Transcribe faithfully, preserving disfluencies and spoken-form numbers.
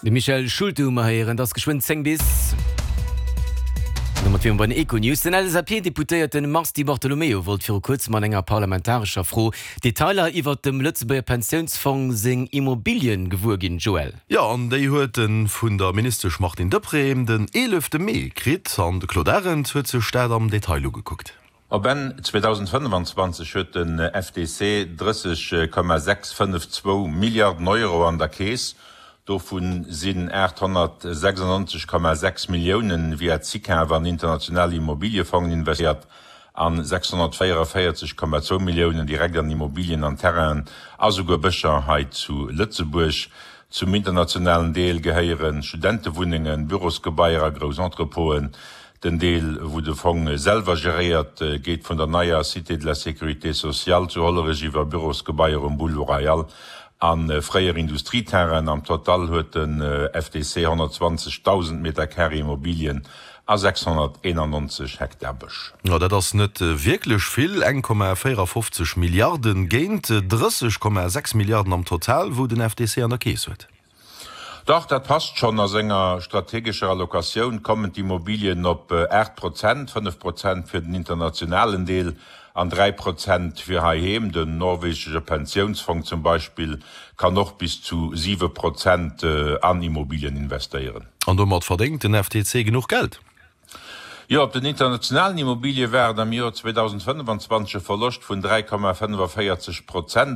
De Michel Schulte hu mer héieren, et ass geschwënn zéng bis. Domat wiere mer bei den Econews. Den L S A P-Deputéierte Mars Di Bartolomeo wollt viru kuerzem an enger parlamentarescher Fro Detailer iwwert dem Lëtzebuerger Pensiounsfong seng Immobilien gewuer ginn. Joël. Jo, an déi huet e vun der Ministesch Martine Deprez den eelefte Mee kritt. An de Claude Arend huet sech dat am Detail ugekuckt. Op Enn zweedausendfënnefenzwanzeg huet den F T C drësseg Komma sechs fënnef zwou Milliarden Euro an der Keess. Dovu sinn aathonnertsechsannonzeg Komma sechs Milliounen via SICAV an international Immobiliefongen investéiert an sechshonnertvéierevéierzeg Komma zwou Milliounen direkt an Immobilien an Terrainen a souguer Bëscher hei zu Lëtzebuerg. Zum internationalen Deel gehéiere Studentewunnengen, Bürosgebaier a grouss Entrepôten. Den Deel, wou de Fong selwer geréiert, geet vun der neier Cité de la Sécurité sociale zu Hollerech iwwer Bürosgebaier um Boulevard Royal a fréier Industrieterrainen. Am Total huet den F T C honnertzwanzegdausend Meter Carré Immobilien a sechshonnerteenannonzeg Hektar Bësch. Jo, dat ass net wierklech vill, eng Komma véierafofzeg Milliarden géint drësseg Komma sechs Milliarden am Total, wou den F T C an der Keess huet. Dach, dat passt schonn. A senger strategescher Allocatioun kommen d'Immobilien op aacht Prozent, fënnef Prozent fir den internationalen Deel an dräi Prozent fir heiheem. Den norwegesche Pensiounsfong zum Beispill kann och bis zu siwe Prozent an Immobilien investéieren. An domat verdéngt den F T C genuch Geld? Jo, op den internationalen Immobilie war et am Joer zweedausendfënnefenzwanzeg e Verloscht vun dräi Komma fënnefavéierzeg Prozent.